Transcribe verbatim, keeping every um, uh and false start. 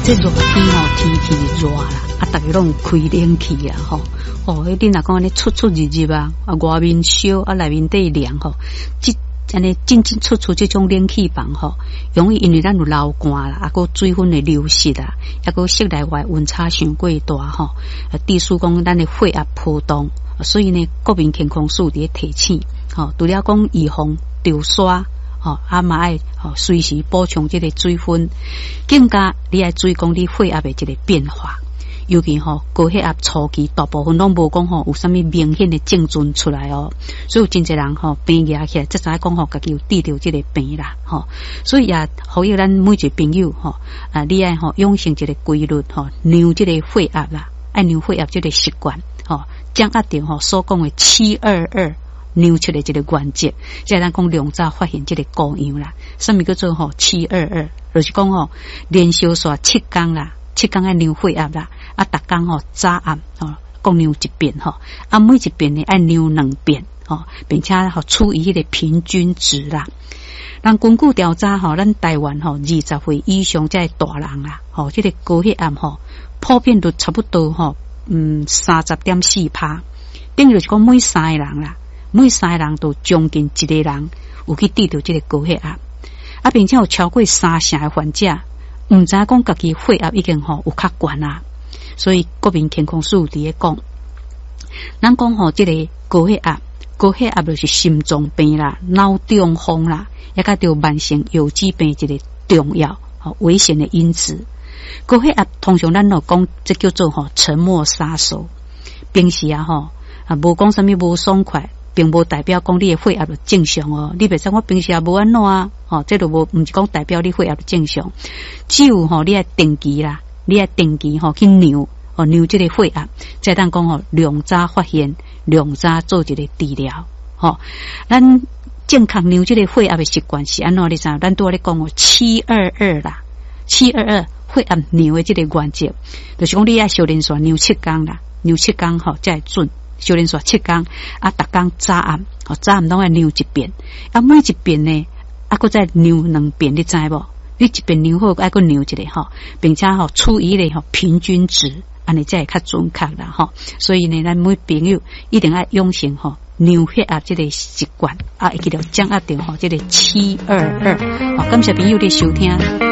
這熱天吼，天氣熱啦，啊，逐家攏開冷氣啊，吼，哦，彼你若講按呢出出入入啊，啊，外面燒，啊，內面底涼吼，這按呢進進出出這種冷氣房吼，容易因為咱有流汗啦，啊，閣水分的流失啊，抑閣室內外溫差傷過大吼，啊，致使講咱的血壓波動，所以呢，國民健康署佇咧提醒，吼，除了講預防著沙。吼，啊嘛愛吼隨時補充這個水分，更加你愛注意講你血壓的這個變化，尤其吼高血壓初期，大部分攏無講吼有啥物明顯的症狀出來哦，所以有真濟人吼病惹起來，才知影講吼家己有得著這個病啦，吼，所以也呼籲咱每一個朋友吼，啊，你愛吼養成一個規律吼，量這個血壓啦，愛量血壓這個習慣，吼，掌握著吼所講的七二二。量出來這個原則，才會當講量早發現這個高樣啦。啥物叫做吼七二二？就是講吼連續煞七工啦，七工愛量血壓啦，啊，逐工吼早暗吼各量一遍吼，啊，每一遍呢愛量兩遍吼，並且吼處於彼個平均值啦。咱根據調查吼，咱台灣吼二十歲以上這個大人啦，吼這個高血壓吼普遍都差不多吼，嗯，三十點四趴，等於就是講每三個人啦。每三個人都將近一個人有去得著這個高血壓，啊，並且有超過三成的患者毋知影講家己血壓已經吼有較懸啊，所以國民健康署佇咧講，咱講吼這個高血壓，高血壓就是心臟病啦、腦中風啦，抑佮著慢性腰子病一個重要吼危險的因子。高血壓通常咱攏講這叫做吼沉默殺手，平時啊吼啊無講啥物無爽快。並無代表講你的血壓就正常哦，你袂使我平時也無按怎啊，吼，這就無毋是講代表你血壓正常。只有吼，你愛定期啦，你愛定期吼去量，吼量這個血壓，才會當講吼量早發現，量早做一個治療。吼，咱正確量這個血壓的習慣是按怎？你知？咱拄仔咧講哦，七二二啦，七二二血壓量的這個原則，就是講你愛相連續量七工啦，量七工吼才會準。相連續七工，啊，逐工早暗，吼早暗攏愛量一遍，啊，每一遍呢，啊，閣再量兩遍，你知無？你一遍量好，愛閣量一下吼，並且吼處於彼個吼平均值，按呢才會較準確啦吼。所以呢，咱每朋友一定愛養成吼量血壓這個習慣，啊，會記著掌握著吼這個七二二。好，感謝朋友的收聽。